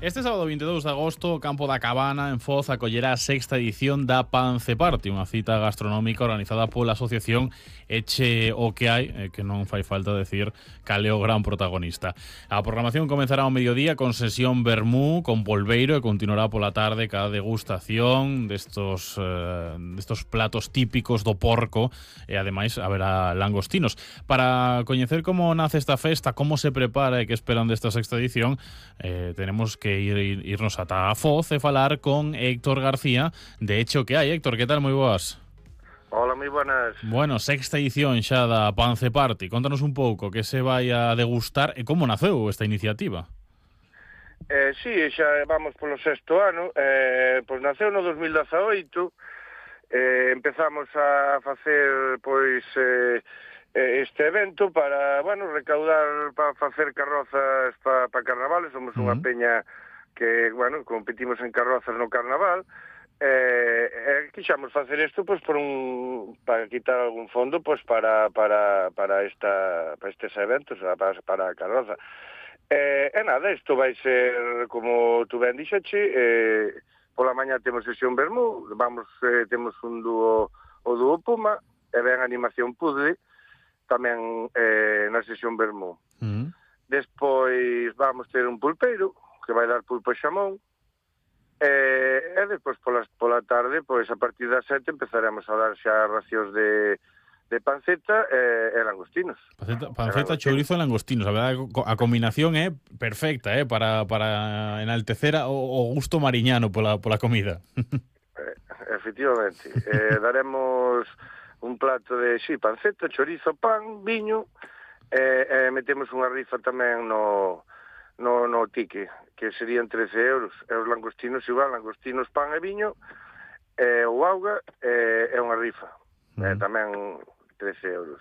Este sábado 22 de agosto o Campo da Cabana en Foz acollerá a sexta edición da Pance Party, unha cita gastronómica organizada pola asociación Eche o que hai, que non fai falta decir cal é o gran protagonista. A programación comenzará ao mediodía con sesión vermú con polbeiro e continuará pola tarde ca degustación destos platos típicos do porco e ademais haberá langostinos. Para coñecer como nace esta festa, como se prepara e que esperan desta sexta edición, tenemos que irnos ata a Foz e falar con Héctor García de Eche o que hai. Héctor, que tal? Moi boas. Hola, moi buenas. Bueno, sexta edición xa da Pance Party. Contanos un pouco que se vai a degustar e como naceu esta iniciativa. Sí, xa vamos polo sexto ano. Pois naceu no 2018. Empezamos a facer este evento para, recaudar para facer carrozas para carnavales. Somos unha peña que, competimos en carrozas no carnaval. Quixamos facer isto para quitar algún fondo para estes eventos, para a carroza. Nada, isto vai ser como tu ben dixeche. Pola mañá temos sesión vermú, temos un dúo, o dúo Puma, e ven animación puzzle tamén na sesión vermú. Despois vamos ter un pulpeiro que vai dar pulpo e xamón, e despois pola tarde, a partir das 7 empezaremos a dar xa racións de panceta e langostinos. Panceta, chourizo e langostinos. A verdade, a combinación é perfecta, para enaltecer o gusto mariñano pola comida. Efectivamente. Daremos un plato de panceta, chorizo, pan, viño, e metemos unha rifa tamén no tique, que serían 13 euros. E os langostinos igual, langostinos, pan e viño, o auga e unha rifa. Tamén 13 euros.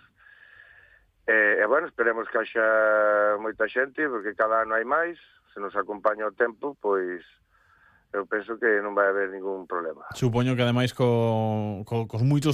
Esperemos que haxa moita xente, porque cada ano hai máis. Se nos acompaña o tempo, pois eu penso que non vai haber ningún problema. Supoño que ademais cos moitos